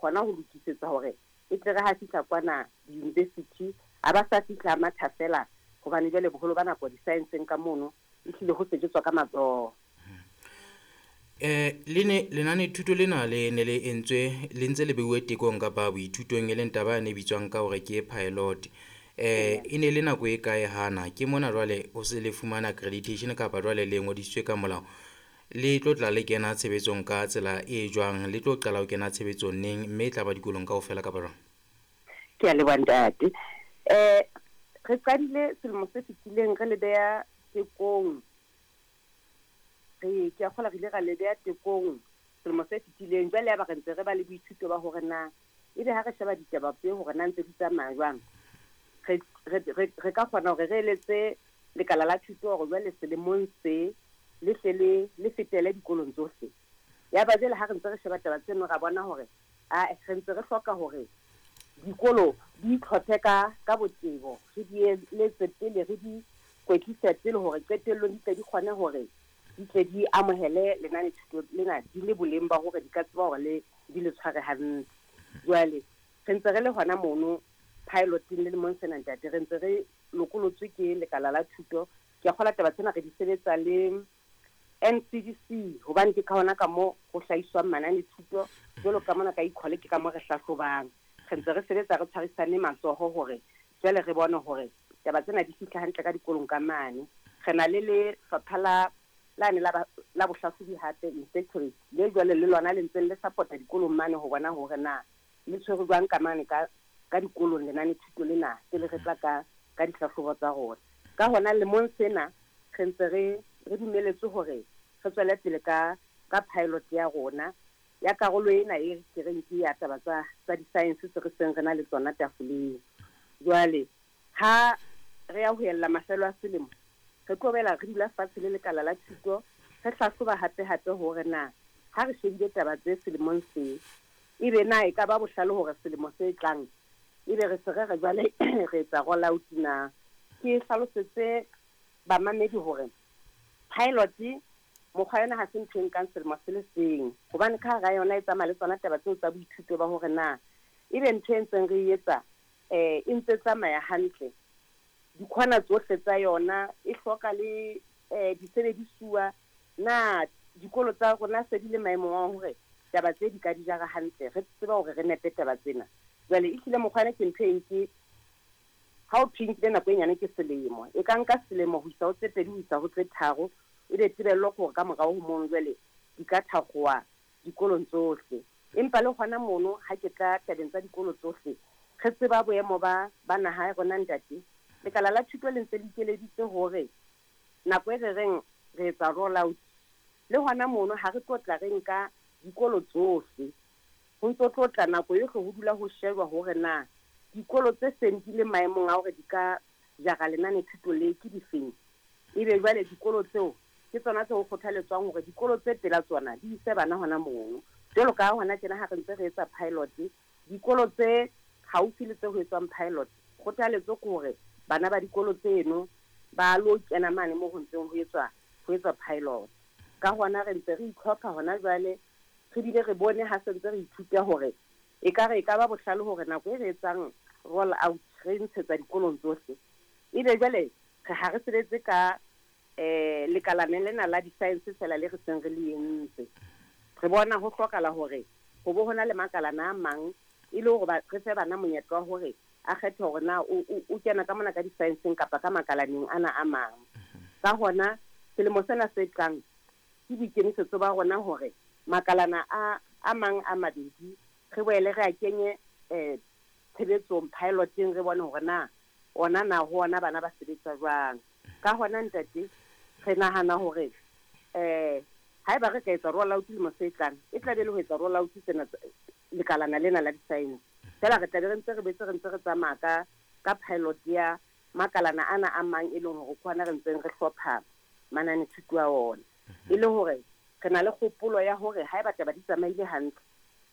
hona ho lokisetsa hore e tle re ha fihla kwana di-university, a ba sa fihla a matha feela, hobane jwale boholo ba nako di-science-eng ka mono ehlile ho sebetswa ka matsoho. Le ne lenanethuto lena le ne le entswe le ntse le beuwe tekong kapa boithutong, e leng taba yane e bitswang ka hore ke pilot. E ne le nako e kae hana ke mona jwale o se le fumana accreditation kapa jwale le ngodisitswe ka molao, le tlo tla le kena tshebetsong ka tsela e jwang, le tlo qala ho kena tshebetsong neng, mme e tla ba dikolong kaofela kapa jwang? Ke a leboha ntate. Re qadile selemo se fetileng re le beha tekong. Re ke a kgolwa re ile ra le beha tekong selemo se fetileng. Jwale ya ba re ntse re ba le boithuto ba hore na ebe ha re sheba ditaba tse hore na ntse di tsamaya jwang, re ka kgona hore re eletse lekala la thuto hore jwale selemong se le hle le fetele dikolong tsohle. Ya ba jwale ha re ntse re sheba taba tseno, ra bona hore a re ntse re hloka hore dikolo di itlhophe ka botebo, re di eletse pele, re di kwetlise pele hore qetellong di tle di kgone hore di tle di amohele lenanethuto lena di le boleng ba hore di ka tseba hore le di le tshware hantle. Jwale re ntse re le hona mono piloteng le lemong sena ntate, re ntse re lokolotswe ke lekala la thuto. Ke a kgolwa taba tsena re di sebetsa le NCDC, hobane ke ka hona ka mo ho hlahiswang mananethuto jwalo ka mona ka Equal, ke ka mo re hlahlobang. Re ntse re sebetsa re tshwarisane matsoho hore jwale re bone hore taba tsena di fihla hantle ka dikolong ka mane. Re na le lefapha la lane la bohlahlobi hape inspectorate, le jwale le lona le ntseng le support-a dikolong mane ho bona hore na le tshwerwe jwang ka mane ka dikolong lenanethuto lena pele re tla ka dihlahlobo tsa rona. Ka hona lemong sena re ntse re dumeletswe hore re tswele pele ka pilot ya rona ya karolo ena e ke reng ke ya taba tsa di-science tse re seng re na le tsona tafoleng. Jwale ha re ya ho ella mafelo a selemo, re tlo boela re dula fatshe le lekala la thuto, re hlahloba hape hape hore na ha re shebile taba tse selemong se, ebe na e ka ba bohlale hore selemo se tlang ebe re se re re jwale re etsa roll out na. Ke hlalosetse bamamedi hore pilot mokgwa yona ha se ntho e nkang selemo se le seng, hobane ka hara yona e tsamaya le tsona taba tseo tsa boithuto ba hore na ebe ntho e ntseng re e etsa e ntse tsamaya hantle, dikhona tsohle tsa yona e hloka le disebedisuwa, na dikolo tsa rona se di le maemong a hore taba tse di ka di jara hantle, re tseba hore re nepe taba tsena. Jwale ehlile mokgwa ona ke ntho e nke ha o thwe nkile nako e nyane ke selemo, e ka nka selemo ho isa ho tse pedi ho isa ho tse tharo, ebe tebello ke hore ka morao ho mono jwale di ka thakgowa dikolong tsohle. Empa le hona mono ha ke tla tabeng tsa dikolo tsohle, re tseba boemo ba naha ya rona ntate. Lekala la thuto le ntse le ikeleditse hore nako e re reng re etsa roll out, le hona mono ha re tlo tla re nka dikolo tsohle, ho ntso tlo tla nako yohle ho dula ho shejwa hore na dikolo tse seng di le maemong a hore di ka jara lenanethuto le ke difeng. Ebe jwale dikolo tseo ke tsona tse ho kgothaletswang hore dikolo tse pela tsona di ise bana hona mono. Jwalo ka hona tjena ha re ntse re etsa pilot, dikolo tse haufi le tse ho etswang pilot, kgothaletso ke hore bana ba dikolo tseno ba lo kena mane moo ho ntseng ho etswa pilot. Ka hona re ntse re itlhopha hona jwale, re bile re bone ha se ntse re ithuta hore ekare e ka ba bohlale hore nako e re etsang roll out re ntshetsa dikolong tsohle, ebe jwale re ha re sebetse ka lekalane lena la di-science fela le re seng re le entse. Re bona ho hlokahala hore ho bo hona le makalana a mang e le hore re fe bana monyetla wa hore a kgethe hore na o kena ka mona ka di-science-eng kapa ka makalaneng ana a mang. Ka hona selemo sena se tlang ke boikemisetso ba rona hore makalana a mang a mabedi re boele re a kenye tshebetsong piloteng, re bone hore na ona na ho ona bana ba sebetsa jwang. Ka hona ntate re nahana hore haeba re ka etsa roll out selemo se tlang, e tla be le ho etsa roll out tsena lekalana lena la di-science fela, re tla be re ntse re betse re ntse re tsamaya ka pilot ya makalana ana a mang e leng hore ke hona re ntseng re hlopha mananethuto a ona. E le hore re na le kgopolo ya hore haeba taba di tsamaile hantle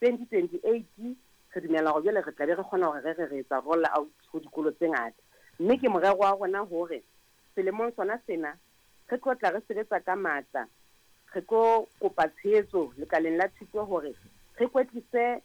2028 re dumela hore jwale re tla be re kgona hore re etsa roll out ho dikolo tse ngata. Mme ke morero wa rona hore selemong sona sena re tlo tla re sebetsa ka matla, re tlo kopa tshehetso lekaleng la thuto hore re kwetlise